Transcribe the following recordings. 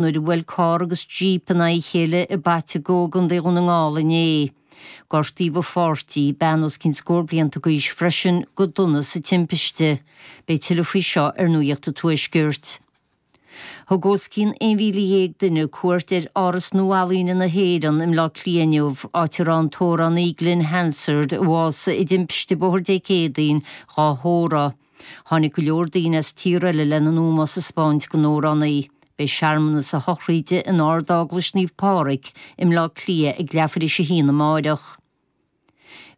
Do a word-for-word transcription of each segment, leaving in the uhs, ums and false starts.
Nuair a bhuail carr agus jíp in aghaidh a chéile i bPaiteagó i gContae Dhún na nGall inné. Gortaíodh a pháirtí, bean os cionn scór blianta d'aois freisin, go dona sa timpiste. Beidh tuilleadh faoi seo ar Nuacht an Tuaiscirt. Thug os cionn aon mhíle dhéag duine cuairt ar Áras Nua-Ealaíne na hÉireann i mBleá Cliath inniu, áit a raibh an t-amhránaí Glen Hansard, a bhásaigh i dtimpiste bóthair Dé Céadaoin, dhá thórramh. Tháinig go leor daoine as tíortha eile lena n-ómós a 'speáint don amhránaí. Beidh searmanas a shochraide in Ard-Eaglais Naomh Pádraig i mBleá Cliath ag leathuair théis a haon amáireach.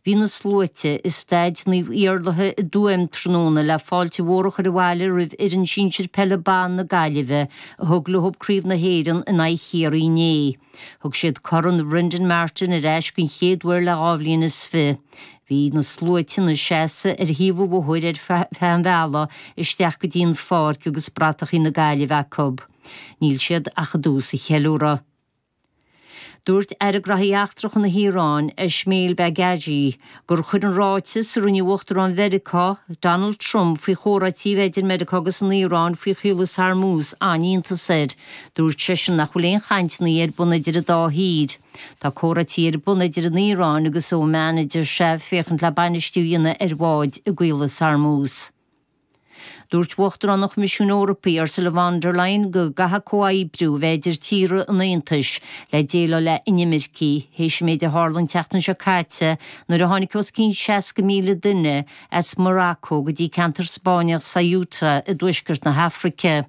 Bhí na sluaite i Staid Naomh Iarlaithe i dTuaim tráthnóna le fáilte mhór a chur abhaile roimh fhoireann sinsir peile ban na Gaillimhe a thug leo Craobh na hÉireann in aghaidh Chiarraí inné. Thug siad Corn Bhrendan Martin ar ais den chéad uair le dhá bhliain is fiche. Bhí na sluaite ina seasamh ar thaobh an bhóthair ar feadh an bhealaigh isteach go dtí an pháirc agus bratachaí na Gaillimhe acu. Níl siad ach i dtús an cheiliúradh. Dúirt Aire Gnóthaí Eachtracha na hIaráine, Esmail Baghaei, gur chuir an ráiteas a rinne Uachtarán Mheiriceá, Donald Trump, faoi chomhráití a bheith idir Meiriceá agus an Iaráin faoi Chaolas Hormuz an-iontas air. Dúirt seisean nach bhfuil aon chainteanna ar bun idir an dá thír. Tá comhráití ar bun idir an Iaráin agus Oman, a deir sé, féachaint le bainistiú a dhéanamh ar bháid i gCaolas Hormuz. Dúirt Uachtarán an Choimisiúin Eorpaigh, Ursula von der Leyen, go gcaithfidh comhoibriú a bheith idir tíortha an Aontais le déileáil le inimircigh, théis an méid a tharla an tseachtain seo caite nuair a tháinig os cionn seasca míle duine as Morocco go dtí ceantar Spáinneach Ceuta i dtuaisceart na hAfraice.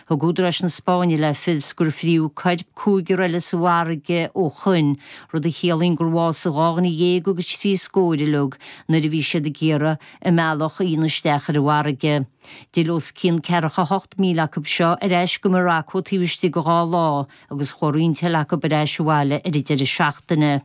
Thug údaráis na Spáinne le fios gur fríodh coirp cúigear eile sa bhfarraige ó shoin, rud a chiallaíonn gur bhásaigh dhá dhuine dhéag agus trí scór uilig nuair a bhí siad ag iarraidh a mbealach a dhéanamh isteach ar an bhfarraige. D'fhill os cionn ceathracha hocht míle acu seo ar ais go Morocco taobh istigh de dhá lá agus chuaigh roinnt eile acu ar ais abhaile ar an deireadh seachtaine.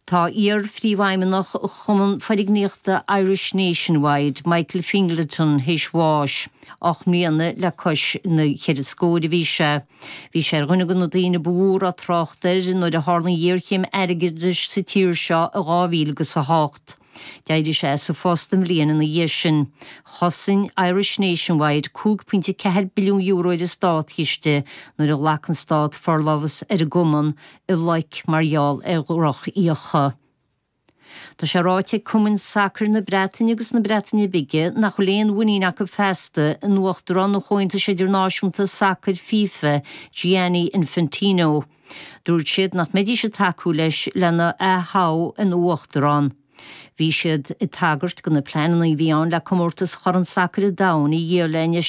Tá iar-phríomhfheidhmeannach Chumann Foirgníochta Irish Nationwide, Michael Fingleton, théis bháis, ocht mbliana le cois na ceithre scór a bhí sé. Bhí sé ar dhuine de na daoine ba mhó a raibh trácht air nuair a tharla an ghéarchéim airgeadais sa tír seo i dhá mhíle agus a hocht. D'éirigh sé as a phost an bhliain ina dhiaidh sin. Chosain Irish Nationwide cúig pointe ceathair billiún euro ar an státchiste nuair a ghlac an stát forlámhas ar an gcumann i loic mar gheall ar dhrochfhiacha. Tá sé ráite ag cumainn sacair na Breataine agus na Breataine Bige nach bhfuil aon mhuinín acu feasta in Uachtarán an Chomhaontais Idirnáisiúnta Sacair FIFA, Gianni Infantino. Dúirt siad nach mbeidís ag tacú leis lena aththoghadh ina uachtarán. Bhí siad ag tagairt do na pleananna a bhí ann le comórtas Chorn Sacair an Domhain a dhíol le